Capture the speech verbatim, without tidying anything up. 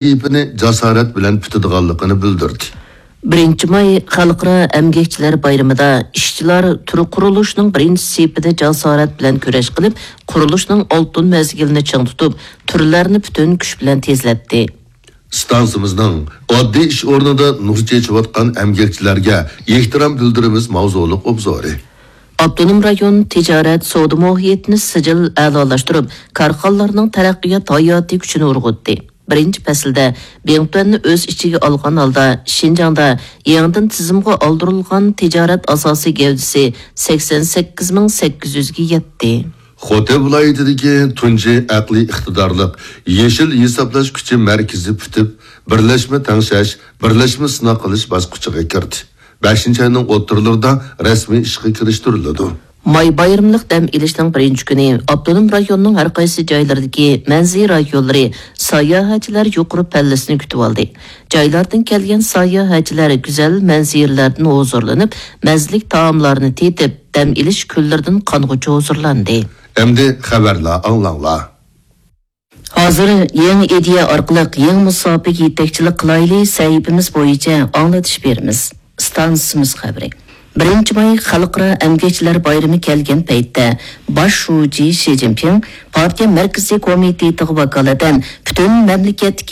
سېھىپىنى جاسارەت بىلەن پۈتىدىغانلىقىنى بىلدۈردى. بىرىنچى ماي خەلقئارا ئەمگەكچىلەر بايرىمىدا ئىشچىلار تۈر قۇرۇلۇشىنىڭ بىرىنچى سېپىدە جاسارەت بىلەن كۈرەش قىلىپ، قۇرۇلۇشنىڭ ئالتۇن مەزگىلىنى چىڭ تۇتۇپ، تۈرلەرنى پۈتۈن كۈچ بىلەن تېزلەتتى. ئىستانسىمىزنىڭ ئاددىي ئىش ئورنىدا نۇر چېچىۋاتقان ئەمگەكچىلەرگە ئېھتىرام بىلدۈرىمىز ماۋزۇلۇق ئوبزورى. ئاپتونوم رايون تىجارەت، سودا مۇھىتىنى سىجىل ئەلالاشتۇرۇپ، كارخانىلارنىڭ تەرەققىيات ھاياتىي كۈچىنى ئۇرغۇتتى. بىرىنچى پەسىلدە بىڭتۈەننى ئۆز ئىچىگە ئالغان ھالدا، شىنجاڭدا يېڭىدىن تىزىمغا ئالدۇرۇلغان تىجارەت ئاساسىي گەۋدىسى سەكسەن سەككىز مىڭ سەككىز يۈزگە يەتتى. خوتەن ۋىلايىتىدىكى تۇنجى ئەقلىي ئىقتىدارلىق يېشىل ھېسابلاش كۈچى مەركىزى پۈتۈپ، بىرلەشمە تەڭشەش، بىرلەشمە سىناق قىلىش باسقۇچىغا كىردى. بەشىنچى ئاينىڭ ئوتتۇرىلىرىدا رەسمىي ئىشقا كىرىشتۈرۈلىدۇ. ماي بايرىملىق دەم ئېلىشنىڭ بىرىنچى كۈنى ئاپتونوم رايوننىڭ ھەر قايسى جايلىرىدىكى مەنزىرە رايونلىرى ساياھەتچىلەر يۇقىرى پەللىسىنى كۈتۈۋالدى. جايلاردىن كەلگەن ساياھەتچىلەر گۈزەل مەنزىرىلەردىن ھۇزۇرلىنىپ، مەززىلىك تائاملارنى تېتىپ، دەم ئېلىش كۈنلىرىدىن قانغۇچە ھۇزۇرلاندى. ئەمدى خەۋەرلەر ئاڭلاڭلار. ھازىر يېڭى ئىدىيە ئارقىلىق يېڭى مۇساپىگە يېتەكچىلىك قىلايلى سەھىپىمىز بويىچە ئاڭلىتىش بېرىمىز. ئىستانسىمىز خەۋىرى. بىرىنچى ماي خەلقئارا ئەمگەكچىلەر بايرىمى كەلگەن پەيتتە، باش شۇجى شى جىنپىڭ پارتىيە مەركىزىي كومىتېتىغا ۋاكالىتەن پۈتۈن مەملىكەتتىكى